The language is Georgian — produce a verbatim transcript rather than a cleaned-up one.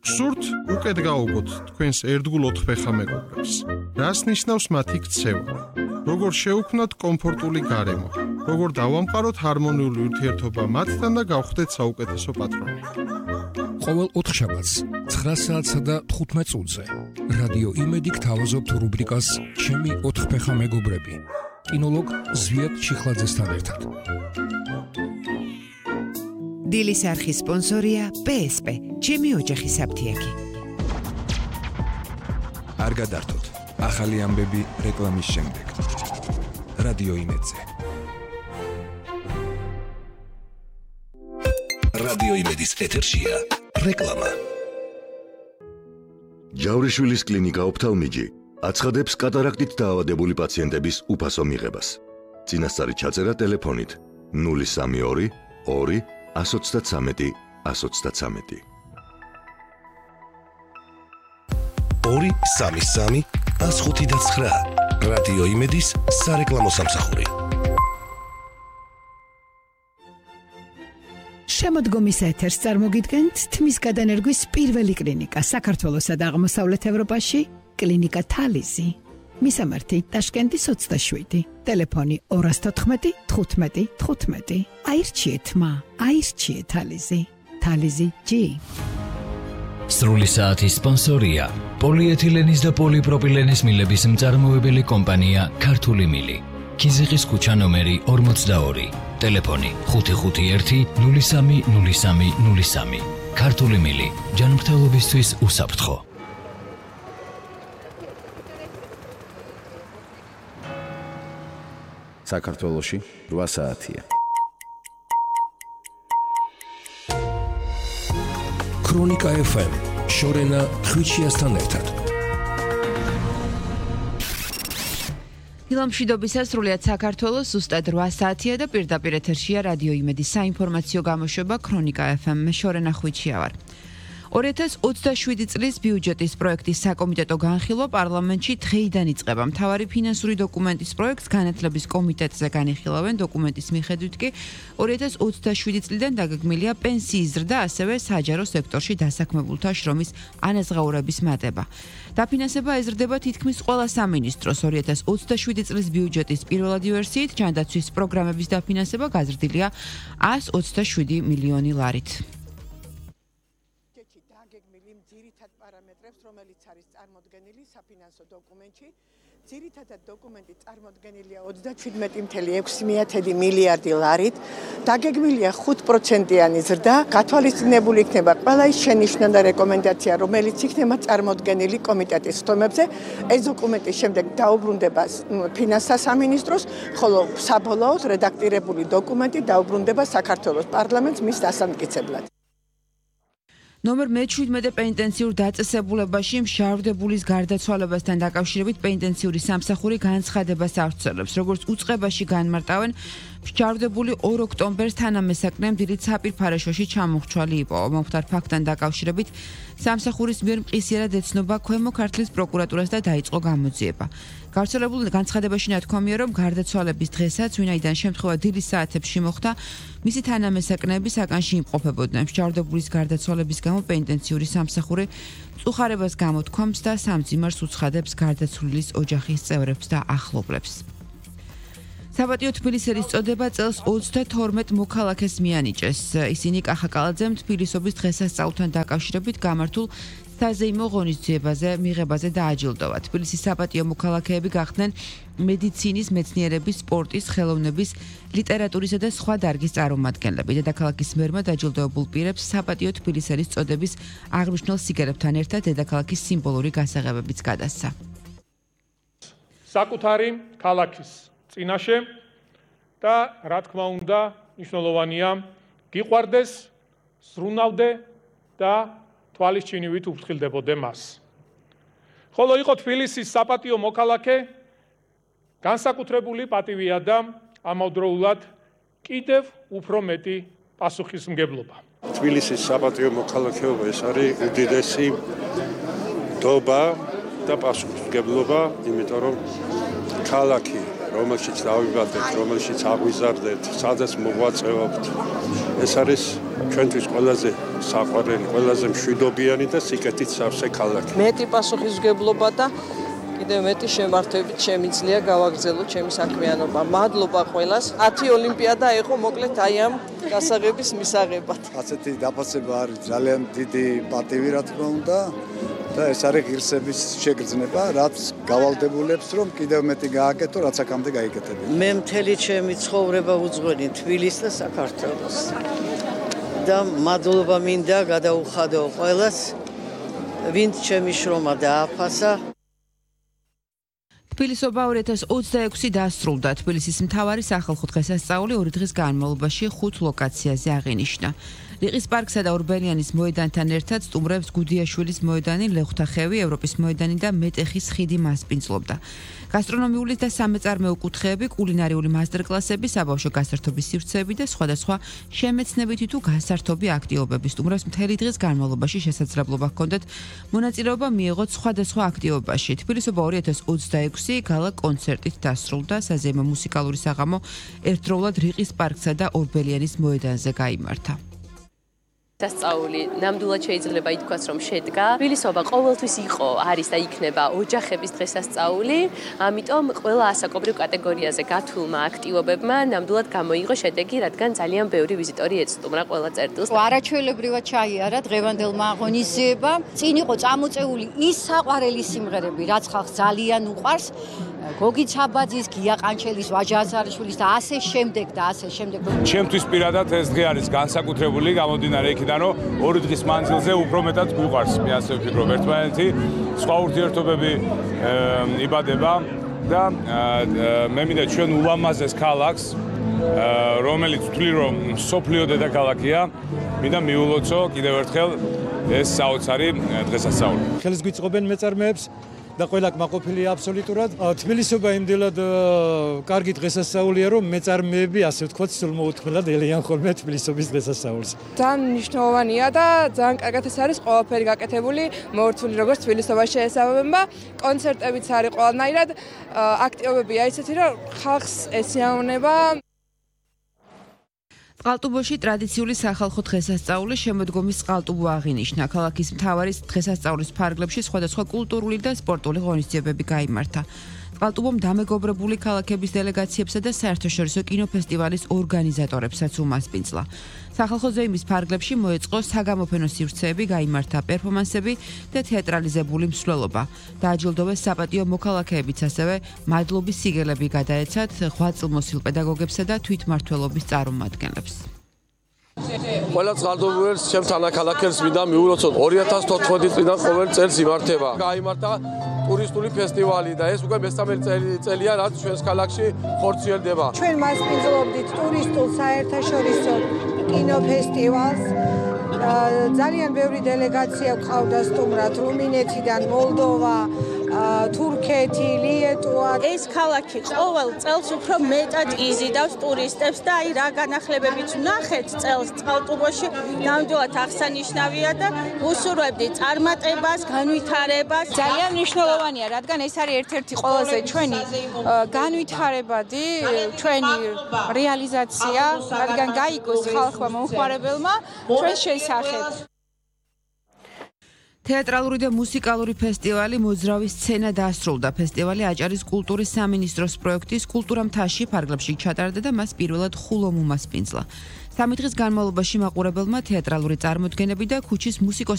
გსურთ უკეთ გაუგოთ თქვენს ერთგულ ოთხფეხა მეგობრებს. რას ნიშნავს მათი ქცევა? როგორ შევქმნათ კომფორტული გარემო? როგორ დავამყაროთ ჰარმონიული ურთიერთობა მათთან და გავხდეთ საუკეთესო პატრონი? ყოველ ოთხშაბათს ცხრა საათსა და თხუთმეტ წუთზე რადიო იმედი გთავაზობთ რუბრიკას ჩემი ოთხფეხა მეგობრები კინოლოგ ზვიად ჩიხლაძესთან ერთად. დილის არხის სპონსორია პე ეს პე, ჩემი ოჯახის საფთიაქი. არ გადართოთ, ახალი ამბები რეკლამის შემდეგ. რადიო იმედზე. რადიო იმედის ეთერშია რეკლამა. ჯავრიშვილის კლინიკა ოფთალმიჯი აცხადებს კატარაქტით დაავადებული პაციენტების უფასო მიღებას. წინასწარი ჩაწერა ტელეფონით ნული სამი ორი ორი ას ოცდათსამეტი ას ოცდათსამეტი. ორი სამი სამი ას ხუთი და ცხრა. რადიო იმედის სარეკლამო სამსახური. შემოდგომის ეთერს წარმოგიდგენთ თმის გადანერგვის პირველი კლინიკა საქართველოსა და აღმოსავლეთ ევროპაში, კლინიკა თალიზი. მისამართი ტაშკენტის ოცდაშვიდი, ტელეფონი ორას თოთხმეტი თხუთმეტი თხუთმეტი. აირჩიეთ მა, აირჩიეთ თალიზი. თალიზი ჯი. სრული საათის სპონსორია პოლიეთილენის და პოლიპროპილენის მილების მწარმოებელი კომპანია ქართული მილი. ქიზიყის ქუჩა ნომერი ორმოცდაორი. ტელეფონი ხუთი ხუთი ერთი ნული სამი ნული სამი ნული სამი. ქართული მილი ჯანმრთელობისთვის უსაფრთხო. საქართველოში რვა საათია. ქრონიკა ეფ ემ შორენა ხვიჩიასთან ერთად. დილამშვიდობისას სრულიად საქართველოს ზუსტად რვა საათია და პირდაპირ ეთერშია რადიო იმედის საინფორმაციო გამოშვება ქრონიკა ეფ ემ. მე შორენა ხვიჩია ვარ. ორი ათას ოცდაშვიდი წლის ბიუჯეტის პროექტის საკომიტეტო განხილვა პარლამენტში დღეიდან იწყება. მთავარი ფინანსური დოკუმენტის პროექტს განათლების კომიტეტზე განიხილავენ. დოკუმენტის მიხედვით კი ორი ათას ოცდაშვიდი წლიდან დაგეგმილია პენსიის ზრდა, ასევე საჯარო სექტორში დასაქმებულთა შრომის ანაზღაურების მატება. დაფინანსება ეზრდება თითქმის ყველა სამინისტროს. ორი ათას ოცდაშვიდი წლის ბიუჯეტის პირველადი ვერსიით ჯანდაცვის პროგრამების დაფინანსება გაზრდილია ას ოცდაშვიდი მილიონი ლარით. პარამეტრებს, რომელიც არის წარმოდგენილი საფინანსო დოკუმენტში. ძირითადად დოკუმენტი წარმოდგენილია ოცდაშვიდმეტი წუთი ექვსი მილიარდი ლარით. დაგეგმილია ხუთ პროცენტიანი ზრდა. გათვალისწინებული იქნება ყველა ის შენიშვნა და რეკომენდაცია, რომელიც იქნება წარმოდგენილი კომიტეტის ხდომებზე. ეს დოკუმენტი შემდეგ დაუბრუნდება ფინანსთა სამინისტროს, ხოლო საბოლოოდ რედაქტირებული დოკუმენტი დაუბრუნდება საქართველოს პარლამენტს მის დასამტკიცებლად. ნომერ მეჩვიდმეტე პენიტენციურ დაწესებულებაში მშავდებულის გარდაცვალებასთან დაკავშირებით პენიტენციური სამსახური განცხადებას ავრცელებს. როგორც უწყებაში განმარტავენ, მშავდებული ორ ოქტომბერს თანამესაკნემ დილით საპირფარეშოში ჩამოხრჩვალი იპოვა. მომხდარ ფაქტთან დაკავშირებით სამსახურის მიერ მყისიერად ეცნობა ქვემო ქართლის პროკურატურას და დაიწყო გამოძიება. გავრცელებულ განცხადებაში ნათქვამია, რომ გარდაცვალების დღესაც, ვინაიდან შემთხვევა დილის საათებში მოხდა, მისი თანამესაკნეები საკანში იმყოფებოდნენ. მშავდებულის გარდაცვალების გამო პენიტენციური სამსახური მწუხარებას გამოთქვამს და სამძიმარს უცხადებს გარდაცვლილის ოჯახის წევრებს და ახლობლებს. საპატიო თბილისელის წოდება წელს ოცდათორმეტ მოქალაქეს მიანიჭეს. ისინი კახაკალაძემ თბილისობის დღესასწაულთან დაკავშირებით გამართულ საზეიმო ღონისძიებაზე მიღებაზე დააჯილდოვა. თბილისის საპატიო მოქალაქეები გახდნენ მედიცინის, მეცნიერების, სპორტის, ხელოვნების, ლიტერატურისა და სხვა დარგის წარმომადგენლები. დედაქალაქის მერმა დაჯილდოებულ პირებს საპატიო თბილისელის წოდების აღნიშნულ სიგარებთან ერთად დედაქალაქის სიმბოლური გასაღებებიც გადასცა. საკუთარი ქალაქის წინაშე და რა თქმა უნდა მნიშვნელოვანია გიყვარდეს, სრუნავდე და თვალისჩინივით უფრთხილდებოდე მას. ხოლო იყო თბილისის საპატიო მოქალაქე, განსაკუთრებული პატივია და ამავდროულად კიდევ უფრო მეტი პასუხისმგებლობა. თბილისის საპატიო მოქალაქეობა ეს არის უდიდესი დობა და პასუხისმგებლობა, იმიტომ რომ ქალაქი, რომელშიც დავიბადეთ, რომელშიც აღვიზარდეთ, სადაც მოღვაწეობთ, ეს არის ჩვენთვის ყველაზე საყვარელი, ყველაზე მშვიდობიანი და სიკეთით სავსე ქალაქი. მეტი პასუხისმგებლობა და კიდევ მეტი შემართებით შემიძლია გავაგრძელოთ ჩემი საქმიანობა. მადლობა ყველას. ათი ოლიმპიადა იყო მოკლედ აი ამ გასაღების მისაღებად. ასეთი დაფასება არის ძალიან დიდი პატივი, რა თქმა უნდა. და ეს არის ღირსების შეგრძნება, რაც გავალდებულებს, რომ კიდევ მეტი გააკეთო, რაც აქამდე გაიკეთებინა. მე მთელი ჩემი ცხოვრება უძღვენი თბილისს და საქართველოს. და მადლობა მინდა გადაუხადო ყველას, ვინც ჩემი შრომა დააფასა. თბილისობა ორი ათას ოცდაექვსი დასრულდა. თბილისის მთავარი სახალხო დღესასწაული ორი დღის განმავლობაში ხუთ ლოკაციაზე აღინიშნა. რიყის პარკსა და ორბელიანის მოედანთან ერთად სტუმრებს გუდიაშვილის მოედანი, ლეხვთახევი, ევროპის მოედანი და მეტეხის ხიდი მასპინძლობდა. გასტრონომიული და სამეწარმეო კუთხეები, კულინარიული მასტერკლასები, საბავშვო გასართობის სივრცეები და სხვადასხვა შემეცნებითი თუ გასართობი აქტივობები სტუმრებს მთელი დღის განმავლობაში შესაძლებლობა ჰქონდათ მონაწილეობა მიიღოთ სხვადასხვა აქტივობაში. თბილისობა ორი ათას ოცდაექვსი გალა კონცერტით დასრულდა. საზეიმო მუსიკალური საღამო ერთდროულად რიყის პარკსა და ორბელიანის მოედანზე გაიმართა. დასწაული ნამდვილად შეიძლება ითქვას, რომ შედგა. თბილისობა ყოველთვის იყო, არის და იქნება ოჯახების დღესასწაული, ამიტომ ყველა ასაკობრივ კატეგორიაზე გათვლილმა აქტივობებმა ნამდვილად გამოიღო შედეგი, რადგან ძალიან ბევრი ვიზიტორი ეცსტუმრა ყველა წერტილს. არაჩვეულებრივად ჩაიარა დღევანდელმა აღონიზიებამ. წინ იყო წამოწეული ის საყვარელი სიმღერები, რაც ხალხს ძალიან უყვარს. გოგი ცაბაძის, გია ყანჩელის, ვაჟა აზარიშვილის და ასე შემდეგ და ასე შემდეგ. ჩემთვის პირადად ეს დღე არის განსაკუთრებული, გამომდინარე იქიდან, რომ ორი დღის მანძილზე უფრო მეტად გვიყვარს, მე ასე ვფიქრობ, ერთმანეთი, სხვა ურთიერთობები იბადება და მე მინდა ჩვენ ულამაზეს ქალაქს, რომელიც ვთვლი, რომ მსოფლიო დედაქალაქია, მინდა მიულოცო კიდევ ერთხელ ეს საოცარი დღესასწაული. ხელს გვიწყობენ მეწარმეებს და ყველა კმაყოფილია აბსოლუტურად. თბილისობა იმდელად კარგი დღესასწაულია, რომ მეწარმეები, ასე ვთქვათ, სულმოუთმელად ელიან ხოლმე თბილისობის დღესასწაულს. ძალიან მნიშვნელოვანია და ძალიან კარგად ეს არის ყველაფერი გაკეთებული, მორთული როგორც თბილისობაში ესაბამება. კონცერტებიც არის ყველანაირად, აქტივობებია ისეთი, რომ ხალხს ესიაუნება. წყალტუბოში ტრადიციული სახალხო დღესასწაული შემოდგომის წყალტუბო აღინიშნა. ქალაქის მთავარი დღესასწაულის ფარგლებში სხვადასხვა კულტურული და სპორტული ღონისძიებები გაიმართა. წყალტუბომ დამეგობრებული ქალაქების დელეგაციებსა და საერთაშორისო კინოფესტივალის ორგანიზატორებსაც უმასპინძლა. სახალხო ზეიმის ფარგლებში მოეწყო საგამოფენო სივრცეები, გაიმართა პერფორმანსები და თეატრალიზებული მსვლელობა. დააჯილდოვეს საპატიო მოქალაქეებიც, ასევე მადლობის სიგელები გადაეცათ ღვაწლმოსილ პედაგოგებსა და თვითმმართველობის წარმომადგენლებს. ყველა წყალტუბურელს ჩემს თანაქალაქებს მინდა მიულოცოთ. ორი ათას თოთხმეტი წლიდან ყოველ წელს იმართება. გაიმართა ტურისტული ფესტივალი და ეს უკვე მესამე წელია, რაც ჩვენს ქალაქში ხორციელდება. ჩვენ მასპინძლობდით ტურისტულ საერთაშორისო კინოფესტივალს. ძალიან ბევრი დელეგაცია გვყავდა სტუმრად რუმინეთიდან, მოლდოვა, თურქეთი, ლიეტუვა. ეს ქალაქი ყოველ წელს უფრო მეტად იზიდავს ტურისტებს და აი რა განახლებებით ვნახეთ წელს წყალტუბოში, ნამდვილად აღსანიშნავია და უსურვებდი წარმატებას, განვითარებას. ძალიან მნიშვნელოვანია, რადგან ეს არის ერთ-ერთი ყველაზე ჩვენი განვითარებადი, ჩვენი რეალიზაცია, რადგან გაიგოს ხალხმა მომხმარებელმა ჩვენ შესახებ. თეატრალური და მუსიკალური ფესტივალი მოძრავი სცენა დასრულდა. ფესტივალი აჭარის კულტურის სამინისტროს პროექტის კულტურა მთაში ფარგლებში ჩატარდა და მას პირველად ხულომ უმასპინძლა. სამი დღის განმავლობაში მაყურებელმა თეატრალური წარმოდგენები და ქუჩის მუსიკოსები